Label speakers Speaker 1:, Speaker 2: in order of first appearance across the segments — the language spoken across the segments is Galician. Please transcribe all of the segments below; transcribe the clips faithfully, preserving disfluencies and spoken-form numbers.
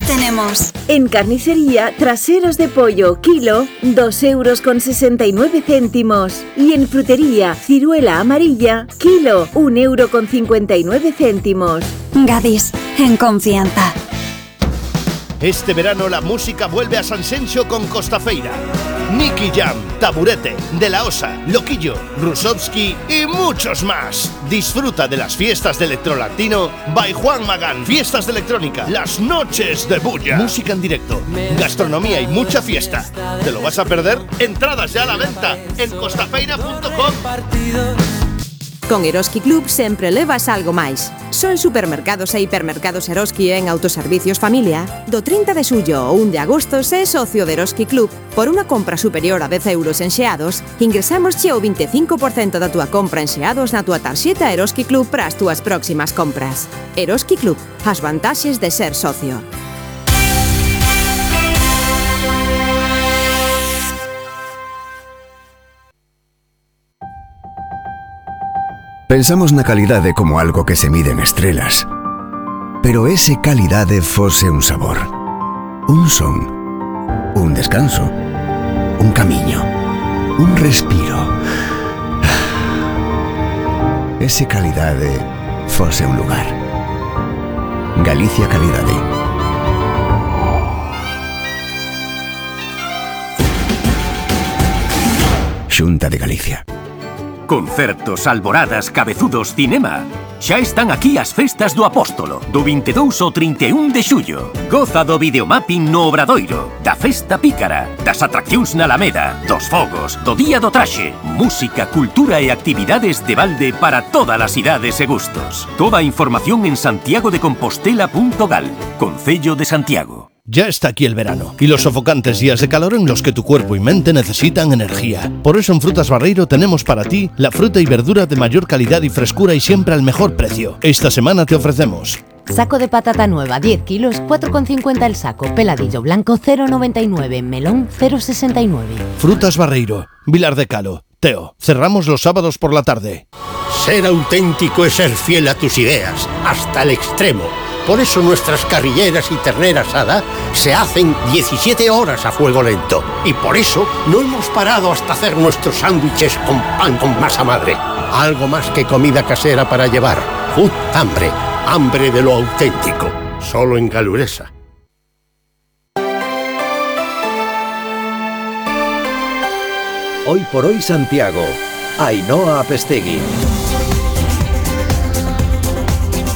Speaker 1: tenemos.
Speaker 2: En carnicería, traseros de pollo, kilo, dos euros con sesenta y nueve céntimos. Y en frutería, ciruela amarilla, kilo, un euro con cincuenta y nueve céntimos.
Speaker 1: Gadis, en confianza.
Speaker 3: Este verano la música vuelve a Sanxenxo con Costafeira. Nicky Jam, Taburete, De La Osa, Loquillo, Rusovsky y muchos más. Disfruta de las fiestas de Electrolatino by Juan Magán. Fiestas de electrónica, las noches de bulla. Música en directo, gastronomía y mucha fiesta. ¿Te lo vas a perder? Entradas ya a la venta en costafeira punto com.
Speaker 4: Con Eroski Club sempre levas algo máis. Só en supermercados e hipermercados Eroski e en autoservicios Familia, do trinta de xullo ao un de agosto, se é socio de Eroski Club por unha compra superior a dez euros en xeados, ingresámosche o veinticinco por ciento da túa compra en xeados na túa tarxeta Eroski Club para as túas próximas compras. Eroski Club, as vantaxes de ser socio.
Speaker 5: Pensamos na calidade como algo que se mide en estrelas. Pero ese calidade fose un sabor, un son, un descanso, un camiño, un respiro. Ese calidade fose un lugar. Galicia Calidade. Xunta de Galicia.
Speaker 6: Concertos, alboradas, cabezudos, cinema. Xa están aquí as festas do Apóstolo, do vinte e dous ao trinta e un de xullo. Goza do videomapping no Obradoiro, da festa pícara, das atraccións na Alameda, dos fogos, do Día do Traxe, música, cultura e actividades de balde para todas as idades e gustos. Toda a información en santiago de compostela punto gal, Concello de Santiago.
Speaker 3: Ya está aquí el verano y los sofocantes días de calor en los que tu cuerpo y mente necesitan energía. Por eso en Frutas Barreiro tenemos para ti la fruta y verdura de mayor calidad y frescura y siempre al mejor precio. Esta semana te ofrecemos
Speaker 7: saco de patata nueva, diez kilos, cuatro con cincuenta el saco. Peladillo blanco, cero con noventa y nueve. Melón, cero con sesenta y nueve.
Speaker 3: Frutas Barreiro, Vilar de Calo. Teo, cerramos los sábados por la tarde.
Speaker 8: Ser auténtico es ser fiel a tus ideas, hasta el extremo. Por eso nuestras carrilleras y ternera asada se hacen diecisiete horas a fuego lento. Y por eso no hemos parado hasta hacer nuestros sándwiches con pan con masa madre. Algo más que comida casera para llevar. Food hambre, hambre de lo auténtico. Solo en Galuresa.
Speaker 9: Hoy por hoy Santiago. Ainhoa Apestegui.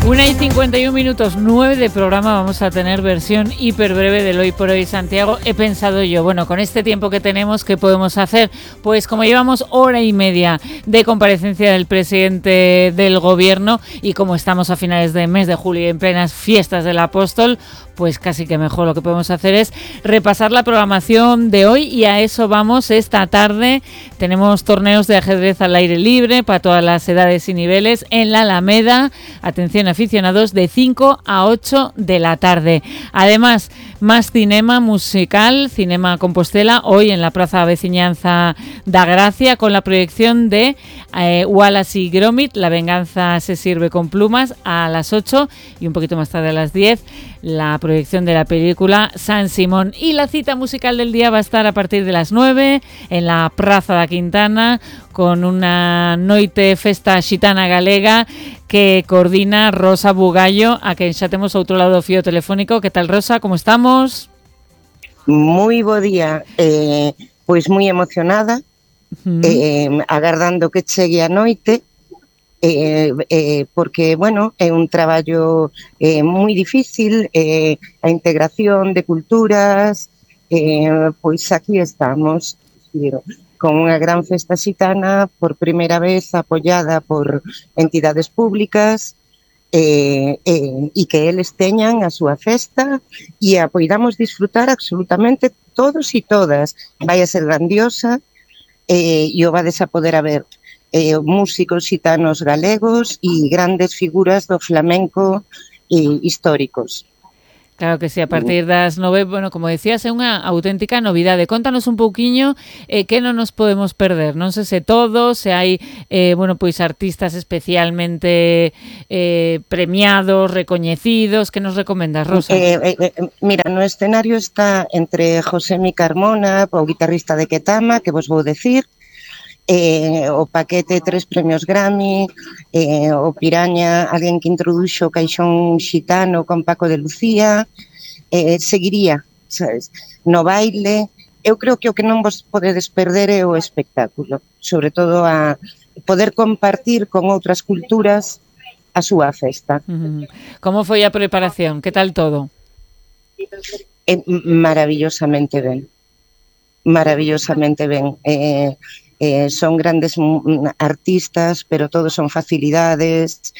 Speaker 10: Una y cincuenta y un minutos, nueve de programa. Vamos a tener versión hiper breve del Hoy por Hoy Santiago. He pensado yo, bueno, con este tiempo que tenemos, ¿qué podemos hacer? Pues como llevamos hora y media de comparecencia del presidente del gobierno y como estamos a finales de mes de julio y en plenas fiestas del Apóstol, pues casi que mejor lo que podemos hacer es repasar la programación de hoy y a eso vamos esta tarde. Tenemos torneos de ajedrez al aire libre para todas las edades y niveles en la Alameda. Atención aficionados, de cinco a ocho de la tarde. Además, más cinema musical, Cinema Compostela, hoy en la Plaza Veciñanza da Gracia con la proyección de eh, Wallace y Gromit, La venganza se sirve con plumas, a las ocho y un poquito más tarde a las diez. La proyección de la película San Simón. Y la cita musical del día va a estar a partir de las nueve en la Praza da Quintana con una noite festa xitana galega que coordina Rosa Bugallo, a quen xa temos outro lado do fío telefónico. Que tal, Rosa? Como estamos?
Speaker 11: Moi bo día. Eh, pois moi emocionada, uh-huh. eh, agardando que chegue a noite. Eh, eh, porque, bueno, é un traballo eh, moi difícil, eh, a integración de culturas, eh, pois aquí estamos, con unha gran festa xitana, por primeira vez apoiada por entidades públicas, eh, eh, e que eles teñan a súa festa e a poidamos disfrutar absolutamente todos e todas. Vai a ser grandiosa eh, e o vades a poder a ver. Eh, músicos xitanos galegos e grandes figuras do flamenco eh, históricos.
Speaker 10: Claro que sí, a partir das nove, bueno, como decías, é unha auténtica novidade. Contanos un pouquiño eh, que non nos podemos perder. Non sei se todo, se hai, eh, bueno, pois artistas especialmente eh, premiados, recoñecidos. Que nos recomendas, Rosa?
Speaker 11: Eh, eh, eh, mira, no escenario está entre Josemi Carmona, o guitarrista de Ketama, que vos vou decir, eh, o paquete tres premios Grammy, eh, o Piraña, alguén que introduxo o caixón xitano con Paco de Lucía, eh, seguiría, sabes, no baile. Eu creo que o que non vos podedes perder é o espectáculo, sobre todo a poder compartir con outras culturas a súa festa.
Speaker 10: Uh-huh. Como foi a preparación? Que tal todo?
Speaker 11: Eh, maravillosamente ben, maravillosamente ben. Eh, Eh, son grandes artistas, pero todos son facilidades,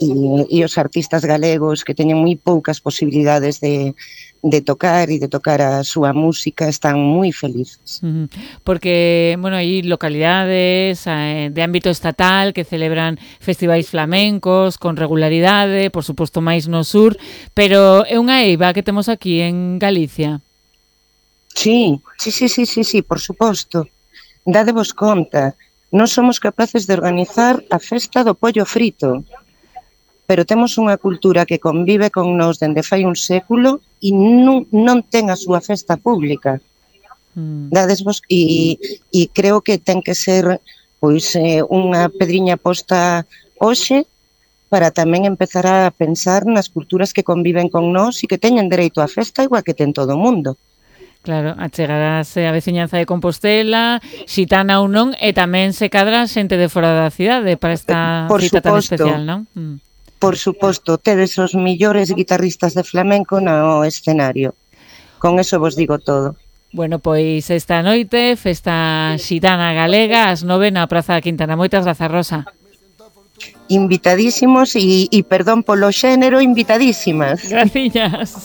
Speaker 11: e, e os artistas galegos que teñen moi poucas posibilidades de, de tocar e de tocar a súa música están moi felices.
Speaker 10: Uh-huh. Porque, bueno, hai localidades eh, de ámbito estatal que celebran festivais flamencos con regularidade, por suposto máis no sur, pero é unha eiva que temos aquí en Galicia.
Speaker 11: Sí, sí, sí, sí, sí, sí, por suposto. Dadevos conta, non somos capaces de organizar a festa do pollo frito, pero temos unha cultura que convive con nós dende fai un século e non, non ten a súa festa pública. Mm. Dadesvos, e, e creo que ten que ser pois eh, unha pedriña posta hoxe para tamén empezar a pensar nas culturas que conviven con nós e que teñen dereito á festa igual que ten todo o mundo.
Speaker 10: Claro, achegarase a veciñanza de Compostela, xitana ou non, e tamén se cadra xente de fora da cidade para esta
Speaker 11: por
Speaker 10: cita
Speaker 11: suposto,
Speaker 10: tan especial, non? Mm.
Speaker 11: Por suposto, tedes os millores guitarristas de flamenco no escenario. Con eso vos digo todo.
Speaker 10: Bueno, pois esta noite, festa xitana galega, ás nove na Praza da Quintana. Moitas grazas, Rosa.
Speaker 11: Invitadísimos e, e perdón polo xénero, invitadísimas.
Speaker 10: Graciñas.